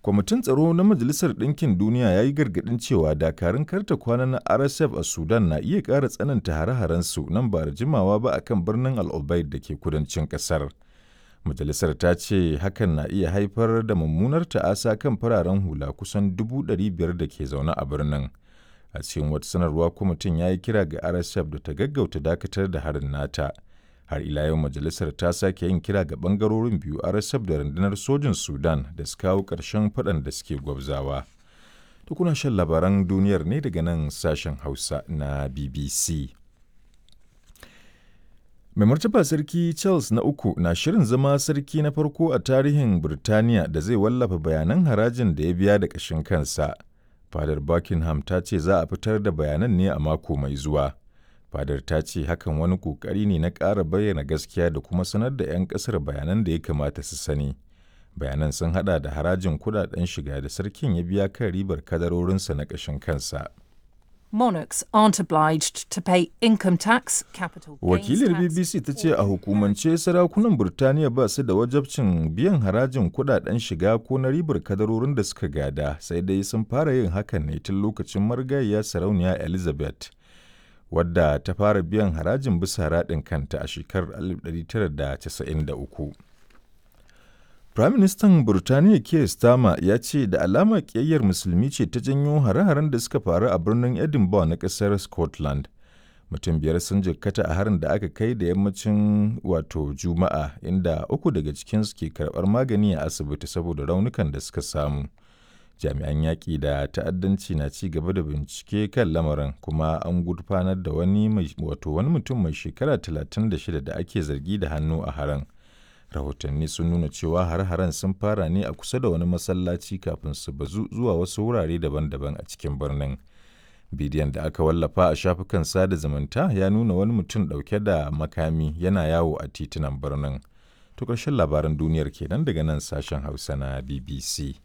Kwamitin Tsaro na Majalisar Ɗinkin Duniya ya yi gargaɗin cewa dakarun karta kwana na RSF a Sudan na iya ƙara tsananta hare-harensu nan ba da jimawa ba a kan birnin Al Obeid da ke kudancin ƙasar. Majalisar ta ce hakan na iya haifar da mummunar ta'asa kan fararen hula kusan 500,000 da ke zaune a birnin. A cikin wata sanarwa kwamitin ya yi kira ga RSF da ta gaggauta dakatar da harin nata. Har ila yau majalisar ta sake yin kira ga bangarorin biyu RSF da rundunar sojin Sudan da su kawo ƙarshen faɗan da suke gwabzawa. To kuna shan labaran duniyar ne daga nan sashen Hausa na BBC. Mai martaba Sarki Charles na uku na shirin zama sarki na farko a tarihin Birtaniya da zai wallafa bayanan harajin da ya biya da ƙashin kansa. Fadar Buckingham ta ce za a fitar da bayanan ne a mako mai zuwa. Fadar ta ce hakan wani ƙoƙari ne na ƙara bayyana gaskiya da kuma sanar da 'yan ƙasar bayanan da ya kamata su sani. Bayanan sun haɗa da harajin kuɗaɗen shiga da sarkin ya biya kan ribar kadarorinsa na ƙashin kansa. Monarchs aren't obliged to pay income tax, capital gains Wakilar tax, BBC ta ce a hukumance sarakunan Burtaniya ba su da wajabcin biyan harajin kudaden shiga ko na ribar kadarorin da suka gada, sai dai sun fara yin hakan ne tun lokacin marigayiya sarauniya Elizabeth, wadda ta fara biyan harajin bisa raɗin kanta a shekarar 1993. Firaministan Burtaniya Keir Starmer ya ce da alama ƙiyayyar musulmi ce ta janyo hare-haren da suka faru a birnin Edinburgh na ƙasar Scotland. Mutum biyar sun jikkata a harin da aka kai da yammacin wato Juma'a, inda uku daga cikinsu ke karɓar magani a asibiti saboda raunukan da suka samu. Jami'an yaƙi da ta'addanci na ci gaba da bincike kan lamarin kuma an gurfanar da wani wato wani mutum mai shekara 36 da ake zargi da hannu a harin. Rahotanni sun nuna cewa har-haren sun fara ne a kusa da wani masallaci kafin su bazu zuwa wasu wurare daban-daban a cikin birnin. Bidiyon da aka wallafa a shafukan sada zumunta ya nuna wani mutum ɗauke da makami yana yawo a titunan birnin. To ƙarshen labaran duniyar kenan daga nan sashen Hausa na BBC.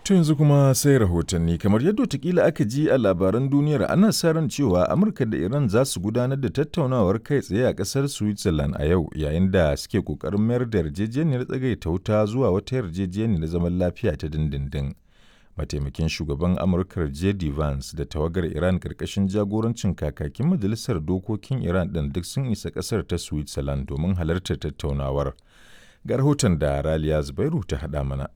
To yanzu kuma sai rahotanni kamar yadda watakila aka ji a labaran duniyar ana sa ran cewa Amurka da Iran za su gudanar da tattaunawar kai tsaye a ƙasar Switzerland a yau yayin da suke ƙoƙarin mayar da yarjejeniyar tsagaita wuta zuwa wata yarjejeniyar zaman lafiya ta dindindin. Mataimakin shugaban Amurkar J.D. Vance da tawagar Iran ƙarƙashin jagorancin kakakin majalisar dokokin Iran ɗin duk sun isa ƙasar ta Switzerland domin halartar tattaunawar. Ga rahoton da Raliya Zubairu ta haɗa mana.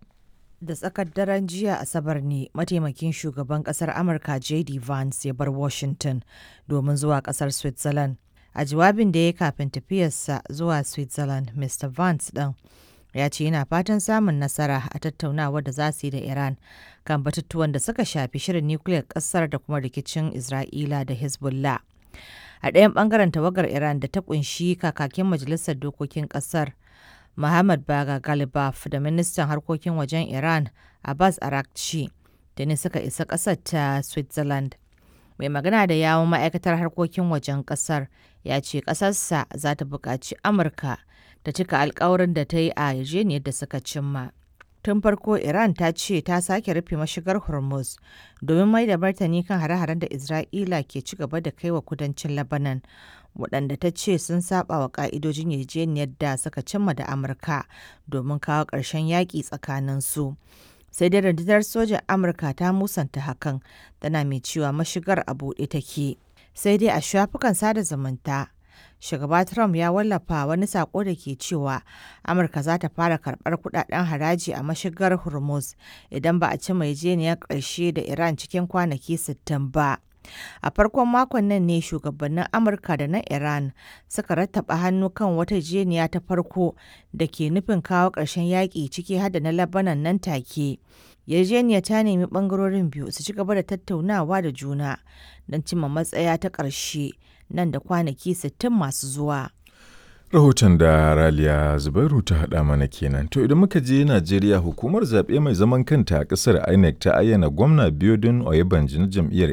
Da tsakar daren jiya Asabar ne mataimakin shugaban kasar Amurka JD Vance ya bar Washington domin zuwa kasar Switzerland. A jawabin da ya kafin tafiyarsa zuwa Switzerland, Mr. Vance ɗin ya ce yana fatan samun nasara a tattaunawar da za su yi da Iran kan batutuwan da suka shafi shirin nukiliyar kasar da kuma rikicin Isra'ila da Hezbollah. A ɗayan ɓangaren tawagar Iran da ta ƙunshi kakakin majalisar dokokin ƙasar Mohammad Baga Galibaf da ministan harkokin wajen Iran Abbas Arakci da ne suka isa ƙasar ta Switzerland. Mai magana da yawon ma'aikatar harkokin wajen ƙasar ya ce ƙasarsa za ta buƙaci Amurka ta cika alkawarin da ta yi a yarjejeniyar da suka cimma. Tun farko Iran ta ce ta sake rufe mashigar Hormuz domin mai da martani kan hare-haren da Isra'ila ke ci gaba da kai wa kudancin Lebanon, waɗanda ta ce sun saba wa ƙa'idojin yarjejeniyar da suka cimma da Amurka domin kawo ƙarshen yaƙi tsakanin su. Sai dai rundunar sojan Amurka ta musanta hakan, tana mai cewa mashigar a buɗe take. Sai dai a shafukan sada zumunta, shugaba Trump ya wallafa wani sako da ke cewa Amurka za ta fara karbar kudaden haraji a mashigar Hormuz idan ba a ci mai yarjejeniyar ƙarshe da Iran cikin kwanaki 60 ba. A farkon makon nan ne shugabannin Amurka da na Iran suka rattaba hannu kan wata yarjejeniya ta farko da ke nufin kawo ƙarshen yaƙi ciki har da na Lebanon nan take. Yarjejeniyar ta nemi ɓangarorin biyu su ci gaba da tattaunawa da juna don cimma matsaya ta ƙarshe nan da kwanaki 60 masu zuwa. Rahoton da Raliya Zubairu ta haɗa mana kenan. To idan muka je Najeriya hukumar zaɓe mai zaman kanta a ƙasar INEC ta ayyana gwamna Biodun Oyebanji na jam'iyyar